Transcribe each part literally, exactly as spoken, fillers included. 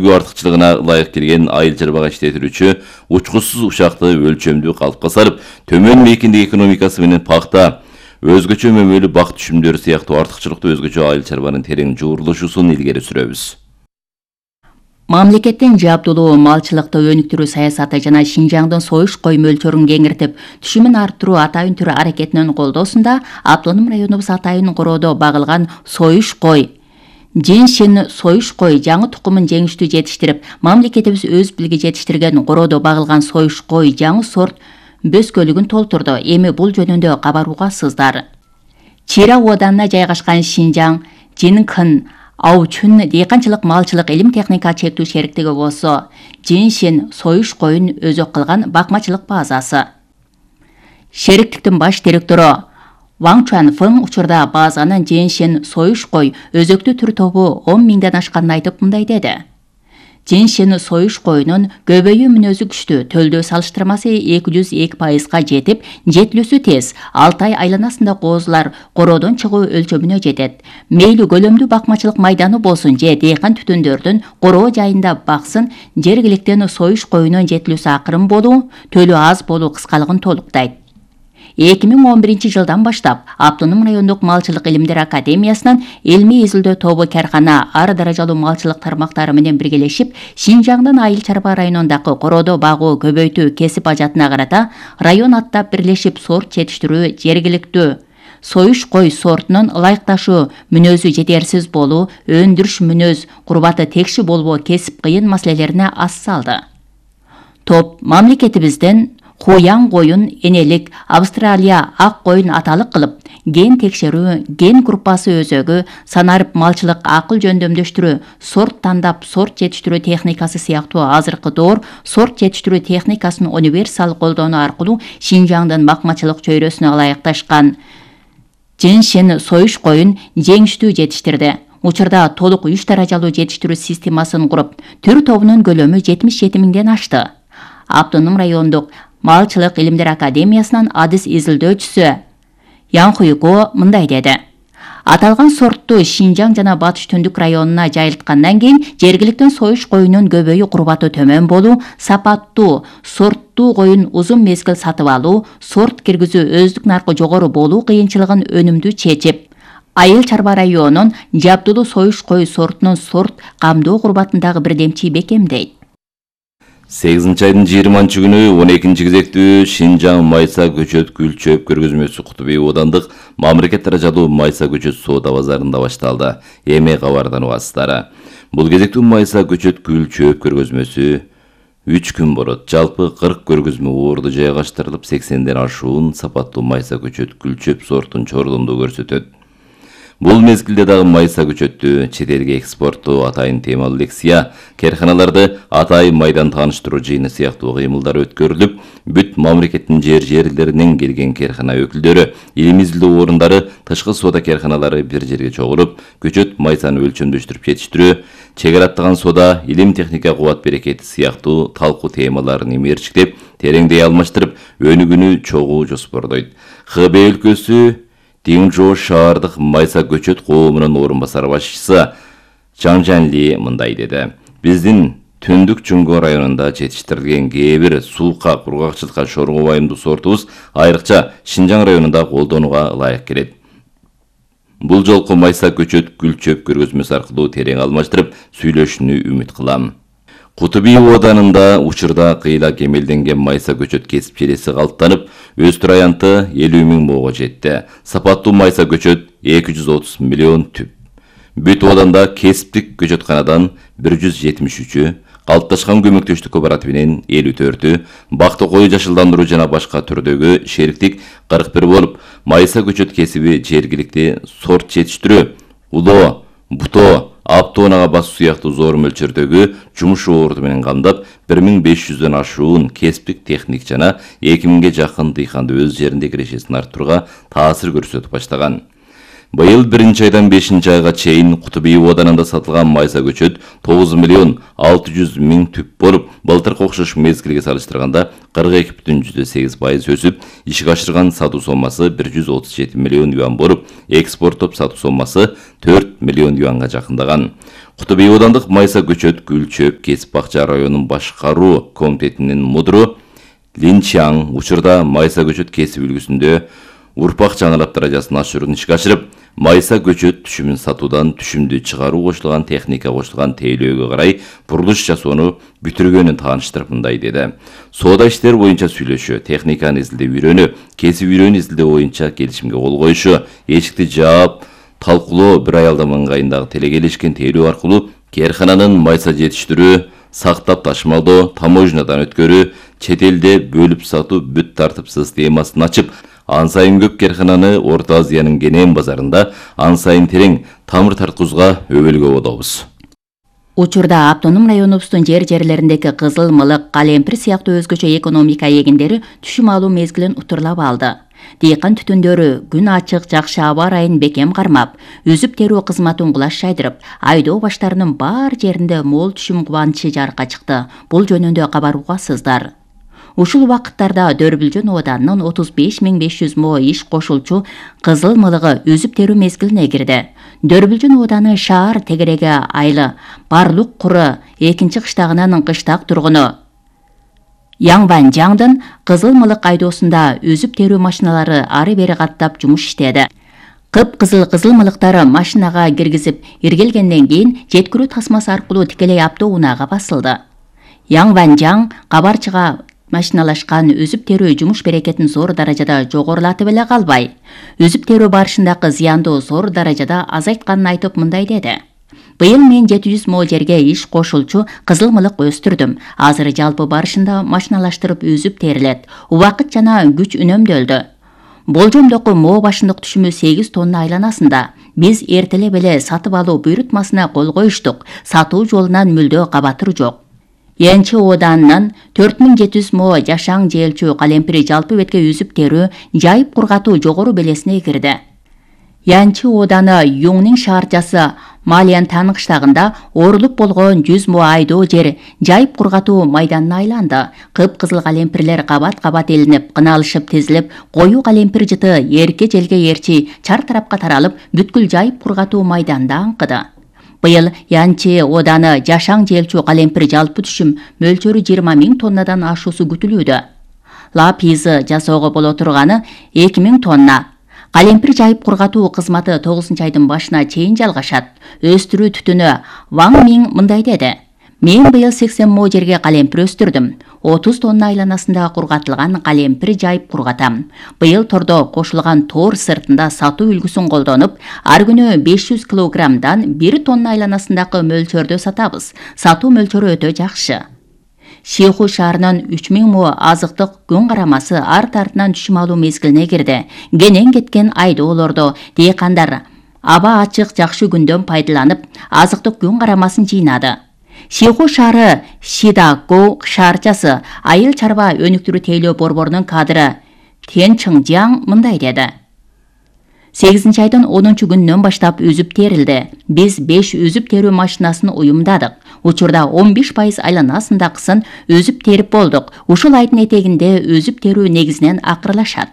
артыкчылыгына ылайык келген айыл чарбага иштетүүчү учкучсуз учакты өлчөмдүү калыпка салып, төмөн мейкиндик экономикасы менен пакта, өзгөчө мөмөлүү бак түшүмдөрү сыяктуу артыкчылыктуу өзгөчө айыл чарбанын терең жуурулушусун илгери сүрөбүз. Мамлекеттин жабдулуу малчылыкты өнүктүрүү саясаты жана Шинжаңдын союш кой мөлчөрүн кеңиртип, түшүмүн арттыруу атайын түрү аракетинин колдоосунда автоном районубуз атайын короодо багылган союш кой Женшин союш кой жаңы тукумун жеңиштүү жетиштирип, мамлекетибиз өз билги жетиштирген короодо багылган союш кой жаңы сорт бөскөлүгүн толтурду. Эми бул жөнүндө кабаруугасыздар. Чира оданына жайгашкан Шинжаң Жинкын Аучун дыйканчылык малчылык илим техника чектүү шериктиги болсо, Женшин союш койун өзөк кылган бакмачылык базасы. Шериктиктин баш директору Ван Чуанфeng учурда базанын Женшин союш кой өзөктүү түр тобу он миңден ашканын айтып мындай деди. Женшин союш коюнун көбөйүү мүнөзү күчтүү, төлдөө салыштырмасы эки жүз эки пайызга жетип, жетилүүсү тез. алты ай айланасында коозулар короодон чыгуу өлчөмүнө жетет. Мейли көлөмдүү бакмачылык майданы болсун же дыйкан түтүндөрдүн короо жайында баксын, жергиликтен союш коюнун жетилүүсү акырын болуу, төлөө аз болуу кыскалыгын толуктайт. эки миң он биринчи жылдан баштап Автоном райондук малчылык илимдер академиясынын илмий изилдөө тобу каркана ар даражалуу малчылык тармактары менен биргелешип, Шинжаңдын айыл чарба районундагы короодо багуу көбөйтүү кесип ажатына карата район аттап бирлешип сорт жетиштирүү, жергиликтүү союш кой сортунун ылайыкташуу мүнөзү жетерсиз болуу, өндүрүш мүнөз курбаты текши болбоо кесип кыйын маселелерине ас салды. Топ мамлекетибизден Хуяң коюн энелик, Австралия ак коюн аталык кылып, ген текшерүү, ген группасы өзөгү, санарып малчылык акыл жөндөмдөштүрүү, сорт тандап сорт жетиштирүү техникасы сыяктуу азыркы доор сорт жетиштирүү техникасын универсал колдонуу аркылуу Шинжаңдын бакмачылык чөйрөсүнө ылайыкташкан Женшин союш коюн жеңиштүү жетиштирди. Учурда толук үч даражалуу жетиштирүү системасын куруп, түр тобунун көлөмү жетимиш жети миңден ашты. Автоном райондук Малчылык илимдер академиясынын адис изилдөөчүсү Ян Хуйго мындай деди. Аталган сортту Шинжаң жана Батыш Түндүк районуна жайылткандан кийин жергиликтен союш коюнун көбөйүү курбаты төмөн болуу, сапаттуу, сорттуу коюн узун мезгил сатып алуу, сорт киргизүү өздүк наркы жогору болуу кыйынчылыгын өнүмдүү чечип, айыл чарба районунун жабдулуу союш кой сортунун сорт камдоо курбатындагы бирдемчи бекемдейт. сегизинчи айдын жыйырманчы күнү он экинчи кезектүү Шинжаң майса көчөт гүл чөп көргөзмөсү Кутубий оодандык мамлекет даражалуу майса көчөт соода базарында башталды. Эми кабардан угасыздар. Бул кезектүү майса көчөт гүл чөп көргөзмөсү үч күн болот. Жалпы кырк көргөзмө орду жайгаштырылып, сексенден ашуун сапаттуу майса көчөт гүл чөп сортун чордомдо көрсөтөт. Бул мезгилде дагы майса көчөттү чет элге экспорттоо атайын темалуу лекция, керканаларды атайын майдан тааныштыруу жыйыны сыяктуу кыймылдар өткөрүлүп, бүт мамлекеттин жер жерлеринен келген керкана өкүлдөрү, илим изилдөө орундары, тышкы соода керканалары бир жерге чогулуп, көчөт майсаны өлчөмдөштүрүп жетиштирүү, чегара аттаган соода, илим техника кубат берекети сыяктуу талкуу темаларын имерчиктеп, тереңдей алмаштырып, өнүгүүнү чогуу жоспордойт. Хб өлкөсү Динжо шаардык майса көчөт коомунун орун басар башчысы Чаң Жанли мындай деди. Биздин Түндүк Чуңго районунда жетиштирилген кээ бир суука, кургакчылыкка шорго байымдуу сортубуз айрыкча Шинжаң районунда колдонууга ылайык келет. Бул жолку майса көчөт гүл чөп көргөзмөсү аркылуу терең алмаштырып сүйлөшүүнү үмүт кылам. Кутубий оодарында учурда кыйла кемелденген майса көчөт кесип желеси калыптанып, өз тураянты элүү миң моого жетти. Сапаттуу майса көчөт эки жүз отуз миллион түп. Бүт ооданда кесиптик көчөтканадан бир жүз жетимиш үчү, калыпташкан көмөктөштүк кооперативинен элүү төртү, бакты кою жашылдандыруу жана башка түрдөгү шериктик кырк бир болуп, майса көчөт кесиби жергиликти сорт жетиштирүү, улоо, буто, аптоонага басуу сыяктуу зор мөлчөрдөгү жумуш орду менен камдап, бир миң беш жүздөн ашуун кесиптик техник жана эки миңге жакын дыйканды өз жеринде кирешесин арттырууга таасир көрсөтүп баштаган. Быйыл биринчи айдан бешинчи айга чейин Кутубий оодарында сатылган майса көчөт тогуз миллион алты жүз миң түп болуп, былтыркы окшош мезгилге салыштырганда кырк эки бүтүн жүздөн сегиз пайыз өсүп, ишке ашырган сатуу соммасы бир жүз отуз жети миллион юан болуп, экспорттоп сатуу соммасы төрт миллион юанга жакындаган. Куту Бей аудандык Майса көчөт гүл чөп кесип бакча районунун башкаруу комитетинин мудуру Лин Чаң учурда Майса көчөт кесип үлгүсүндө урпак жаңылап даражасын ашыруун ишке ашырып, Майса көчөт түшүмүн сатуудан түшүмдү чыгаруу кошулган техника кошулган тейлөөгө карай курулуш жасоону бүтүргөнүн тааныштырып мындай деди. Соода иштери боюнча сүйлөшүү, техниканы изилдеп үйрөнүү, кесип үйрөнүү изилдөө боюнча келишимге кол коюшу, эшикти жаап, талкуулоо бир аялдын ыңгайындагы телекелешкен тейлөө аркылуу кээркананын майса жетиштирүү, сактап ташымалдоо, таможнядан өткөрүү, чет элде бөлүп сатуу бүт тартып системасын ачып, ан сайын көп кээркананы Орто Азиянын Кенен базарында ан сайын терең тамыр тарткузга өбөлгө бодобуз. Учурда автоном районубуздун жер-жерлериндеги кызыл мылык, калемпир сыяктуу өзгөчө экономика эгиндери түшүм алуу мезгилин утурлап алды. Дыйкан түтүндөрү күн ачык, жакшы аба ырайын бекем кармап, үзүп терүү кызматын кулаш жайдырып, айдоо баштарынын бар жеринде мол түшүм кубанычы жарыкка чыкты. Бул жөнүндө кабар угасыздар. Ушул убакыттарда Дөрбүлжөн ооданынын отуз беш миң беш жүз мо иш кошулчу кызыл мылыгы үзүп терүү мезгилине кирди. Дөрбүлжөн ооданы шаар тегереге айлы Барлык куру экинчи кыштагынын кыштак тургуну Яңбан Жаңдын кызыл мылык айдоосунда үзүп терүү машиналары ары бери каттап жумуш иштеди. Кып-кызыл кызыл мылыктары машинага киргизип иргелгенден кийин жеткирүү тасмасы аркылуу тикелей автоунаага басылды. Яңбан Жаң кабарчыга машиналашкан үзүп терүү жумуш берекетин зор даражада жогорулатып эле калбай, үзүп терүү барышындагы зыянды зор даражада азайтканын айтып мындай деди. Быйыл мен жети жүз мо жерге иш кошулчу кызыл мылык өстүрдүм. Азыр жалпы барышында машиналаштырып үзүп терилет. Убакыт жана күч үнөмдөлдү. Болжомдоку мо башындык түшүмү сегиз тонна айланасында. Биз эртелеп эле сатып алуу буйрутмасына кол коюштук. Сатуу жолунан мүлдө кабатыр жок. Янчы ооданынан төрт миң жети жүз мо жашаң жээлчү калемпири жалпы бетке үзүп терүү, жайып кургатуу жогору белесине кирди. Янчы ооданы Юңнин шаарчасы Малиянтан кыштагында оорулуп болгон жүз мо айдоо жер жайып кургатуу майданына айланды. Кып-кызыл калемпирлер кабат-кабат элинип, кыналышып тизилип, коюу калемпир жыты эрке желге эрчи чар тарапка таралып, бүткүл жайып кургатуу майданында аңкыды. Быйыл Янчы ооданы жашаң жээлчү калемпир жалпы түшүм мөлчөрү жыйырма миң тоннадан ашуусу күтүлүүдө. Лапизы жасоого боло турганы эки миң тонна. Калемпир жайып кургатуу кызматы тогузунчу айдын башына чейин жалгашат. Өстүрүү түтүнү Ваң Миң мындай деди. Мен быйыл сексен мо жерге калемпир өстүрдүм. отуз тонна айланасында кургатылган калемпир жайып кургатам. Быйыл тордо кошулган тор сыртында сатуу үлгүсүн колдонуп, ар күнү беш жүз килограммдан бир тонна айланасындагы мөлчөрдө сатабыз. Сатуу мөлчөрү өтө жакшы. Шиху шаарынын үч миң мо азыктык күн карамасы арт артынан түшүм алуу мезгилине кирди. Кенен кеткен айдоолордо дыйкандар аба ачык жакшы күндөн пайдаланып, азыктык күн карамасын жыйнады. Шиху шаары Шидаго шаарчасы айыл чарба өнүктүрүү тейлөө борборунун кадры Тен Чыңжаң мындай деди. сегизинчи айдын онунчу күнүнөн баштап үзүп терилди. Биз беш үзүп терүү машинасын уюмдадык. Учурда он беш пайыз айланасындагысын өзүп терип болдук. Ушул айдын этегинде өзүп терүү негизинен акырлашат.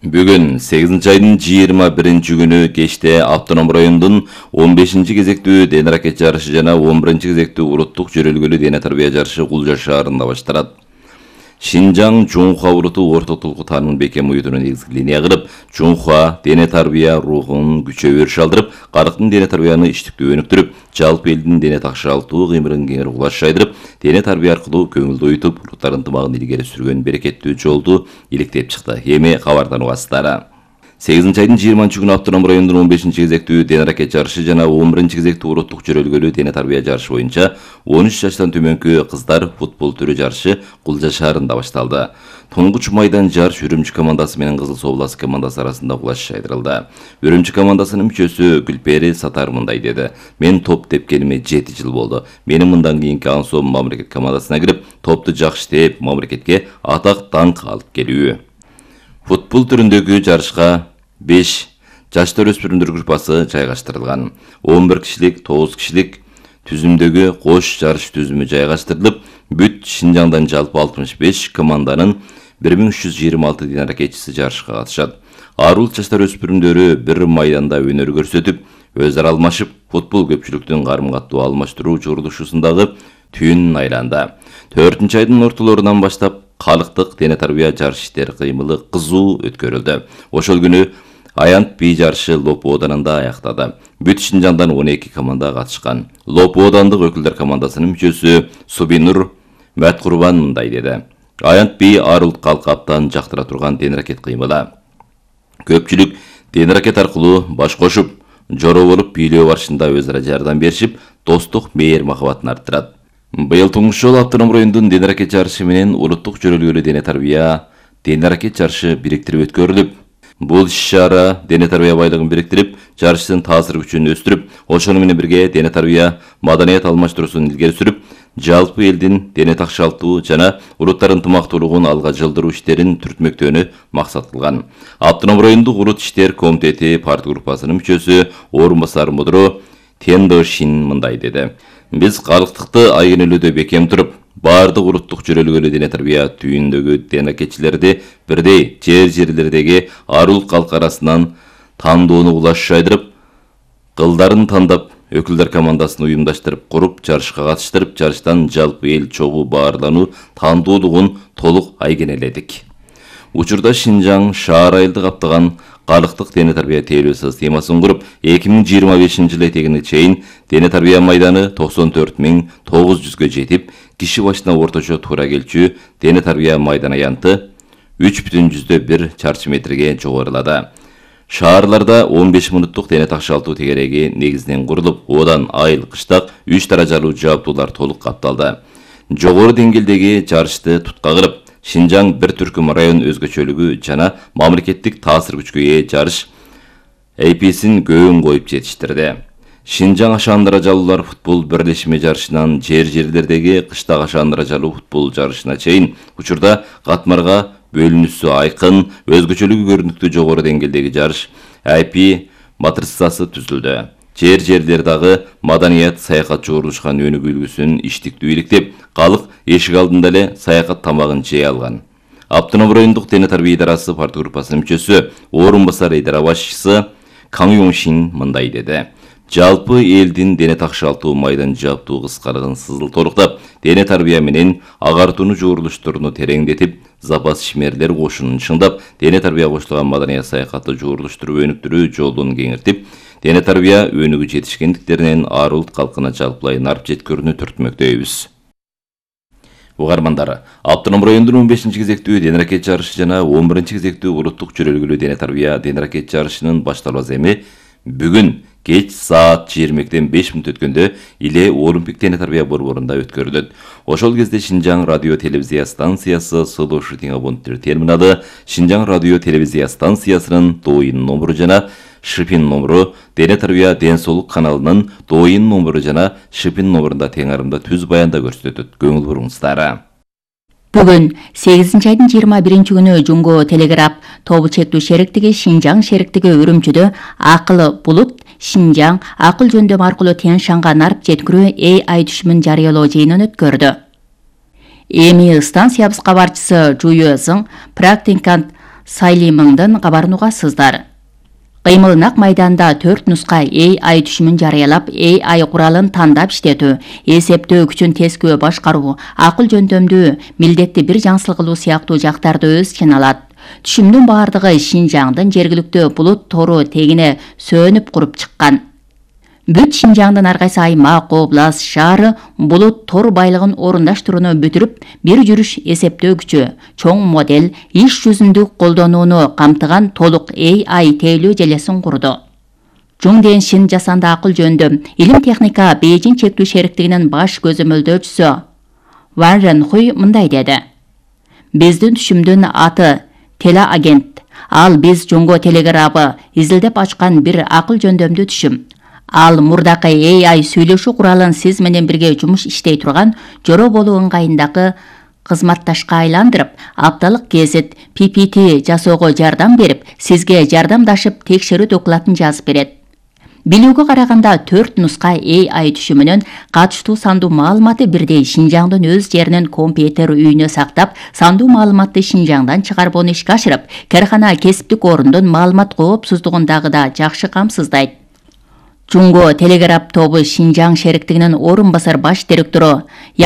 Бүгүн сегизинчи айдын жыйырма биринчи күнү кечте автоном райондун он бешинчи кезектүү дене аракет жарышы жана он биринчи кезектүү уруттук жөрөлгөлүү дене тарбия жарышы Кулжа шаарында башталат. Шинжаң Жунхуа уруту орто толку таанымын бекем уюутуна негизги линия кылып, Жунхуа дене тарбия рухун күчөп өрүш алдырып, карыктын дене тарбияны иштиктүү өнүктүрүп, жалпы элдин дене такшаалтуу кыймылын кеңири кулаш жайдырып, дене тарбия аркылуу көңүлдү оютуп, уруттар ынтымагын илгери сүргөн берекеттүү жолду иликтеп чыкты. Эми кабардан угасыздар. сегизинчи айдын жыйырманчы күнү автоном райондун он бешинчи кезектүү дене аракет жарышы жана он биринчи кезектүү уруттук жөрөлгөлүү дене тарбия жарышы боюнча он үч жаштан төмөнкү кыздар футбол түрү жарышы Кулжа шаарында башталды. Тонгуч майдан жарыш Үрүмчү командасы менен Кызыл Соблас командасы арасында кулаш жайдырылды. Үрүмчү командасынын мүчөсү Гүлпери Сатар мындай деди. Мен топ тепкениме жети жыл болду. Менин мындан кийинки ансом мамлекет командасына кирип, топту жакшы теп, мамлекетке атак даңк алып келүү. Футбол түрүндөгү жарышка беш жаштар өспүрүмдөр группасы жайгаштырылган. он бир кишилик, тогуз кишилик түзүмдөгү кош жарыш түзүмү жайгаштырылып, бүт Шинжаңдан жалпы алтымыш беш команданын бир миң үч жүз жыйырма алты денаракетчиси жарышка катышат. Арулт жаштар өспүрүмдөрү бир майданда өнөр көрсөтүп, өз ара алмашып, футбол көпчүлүктүн карым-каттуу алмаштыруу журулушусундагы түйүнүн айланды. төртүнчү айдын ортолорунан баштап калктык дене тарбия жарыш иштери кыймылы кызуу өткөрүлдү. Ошол күнү аянт би жарышы Лопу оданында аяктады. Бүт Шинжаңдан он эки команда катышкан. Лопу одандык өкүлдөр командасынын мүчөсү Субинур Мәткурбан мындай деди: Аянт би арулт калкы абдан жактыра турган денеракет кыймылы. Көпчүлүк денеракет аркылуу баш кошуп, жороо болуп бийлөө барышында өз ара жардам беришип, достук мээр махабатын арттырат. Быйыл туңуш жолу автоном райондун денеракет жарышы менен улуттук жөрөлгөлүү дене тарбия денеракет жарышы бириктирип өткөрүлүп, бул иш-чара дене тарбия байлыгын бириктирип, жарыштын таасир күчүн өстүрүп, ошону менен бирге дене тарбия маданият алмаштыруусун илгери сүрүп, жалпы элдин дене такшалтуу жана улуттар ынтымактуулугун алга жылдыруу иштерин түртмөктөөнү максат кылган. Автоном райондук улут иштер комитети парт группасынын мүчөсү орун басар мудро Тендо Шин мындай деди: Биз калктыкты айгинелөөдө бекем туруп, баардык улуттук жөрөлгөлүү дене тарбия түйүндөгү денеракетчилерди бирдей жер жерлердеги арулт калк арасынан тандоону улаш жайдырып, кылдарын тандап, өкүлдөр командасын уюмдаштырып куруп, жарышка катыштырып, жарыштан жалпы эл чогуу баарлануу тандоолугун толук айгинеледик. Учурда Шинжаң шаар айылды каптаган калктык дене тарбия тейлөө системасын куруп, эки миң жыйырма бешинчи жылы этегине чейин дене тарбия майданы токсон төрт миң тогуз жүзгө жетип, киши башына орточо туура келчү дене тарбия майдан аянты үч бүтүн жүздө бир чарчы метрге жогорулады. Шаарларда он беш мүнөттүк дене такшалтуу тегереги негизинен курулуп, одан айыл, кыштак үч даражалуу жабдуулар толук капталды. Жогору деңгээлдеги жарышты тутка кылып, Шинжаң бир түркүм район өзгөчөлүгү жана мамлекеттик таасир күчкө ээ жарыш эйписин көөн коюп жетиштирди. Шинжаң ашаан даражалуулар футбол бирлешме жарышынан жер жерлердеги кыштак ашаан даражалуу футбол жарышына чейин учурда катмарга бөлүнүүсү айкын, өзгөчөлүгү көрүнүктүү жогору деңгээлдеги жарыш эй пи матрицасы түзүлдү. Жер жерлер дагы маданият саякат жогорулушкан өнүгүү үлгүсүн иштиктүү иликтеп, калк эшик алдында эле саякат тамагын жей алган. Автоном райондук дене тарбия идарасы парт группасынын мүчөсү, орун басар идара башчысы Каң Юңшин мындай деди: Жалпы элдин дене такшалтуу майдан жаптуу кыскарыгын сызыл толуктап, дене тарбия менен агартууну жогорулуштуруну тереңдетип, запас ишмерлер кошунун чыңдап, дене тарбия кошулган маданият саякатты жогорулуштуруп өнүктүрүү жолун кеңиртип, дене тарбия өнүгүү жетишкендиктеринен арулт калкына жалпылай нарп жеткөрүүнү түртмөктөйбүз. Угармандар, автоном райондун он бешинчи кезектүү денеракет жарышы жана он биринчи кезектүү улуттук жөрөлгөлүү дене тарбия денеракет жарышынын башталуу аземи бүгүн кеч саат жыйырма экиден беш мүнөт өткөндө Иле Олимпик дене тарбия борборунда өткөрүлөт. Ошол кезде Шинжаң радио телевизия станциясы Слушатың абоненттер терминалы, Шинжаң радио телевизия станциясынын доойын номеру жана Шипин номеру, дене тарбия ден соолук каналынын доойын номеру жана Шипин номерунда теңарымда түз баянда көрсөтөт. Көңүл буруңуздар. Бүгүн сегизинчи айдын жыйырма биринчи күнү Жумго телеграф тобу чектүү шериктиги Шинжаң шериктиги Үрүмчүдө акылы булут Шинжаң акыл жөндөм аркылуу Тянь Шанга нарп жеткирүү эй ай түшүмүн жарыялоо жыйынын өткөрдү. Эми станциябыз кабарчысы Жуюзың практикант Сайлимыңдын кабарын угасыздар. Кыймыл нак майданда төрт нуска эй ай түшүмүн жарыялап, эй ай куралын тандап иштетүү, эсептөө күчүн тескөө башкаруу, акыл жөндөмдүү, милдетти бир жаңсыл кылуу сыяктуу жактарды өз ичине алат. Түшүмдүн баардыгы Шинжаңдын жергиликтүү булут тору тегине сөнүп куруп чыккан. Бүт Шинжаңдын ар кайсы аймак, област, шаары булут тор байлыгын орундаштырууну бүтүрүп, бир жүрүш эсептөө күчү, чоң модель, иш жүзүндү колдонууну камтыган толук эй ай тейлөө желесин курду. Жуңден Шин жасанды акыл жөндөм илим техника Бейжин чектүү шериктигинин баш көзөмөлдөөчүсү Ван Ренхуй мындай деди: Биздин түшүмдүн аты телеагент. Ал биз Жуңго телеграфы изилдеп ачкан бир акыл жөндөмдүү түшүм. Ал мурдакы эй ай сүйлөшүү куралын сиз менен бирге жумуш иштей турган жороо болуу ыңгайындагы кызматташка айландырып, апталык гезит пи пи ти жасоого жардам берип, сизге жардамдашып текшерүү докладын жазып берет. Билүүгө караганда төрт нуска A I түшүмүнөн катыштуу сандуу маалыматы бирдей Шинжаңдын өз жеринин компьютер үйүнө сактап, сандуу маалыматты Шинжаңдан чыгарбоону ишке ашырып, кархана кесиптик орундун маалымат коопсуздугун дагы да жакшы камсыздайт. Жунго телеграф тобу Шинжаң шериктигинин орун басар баш директору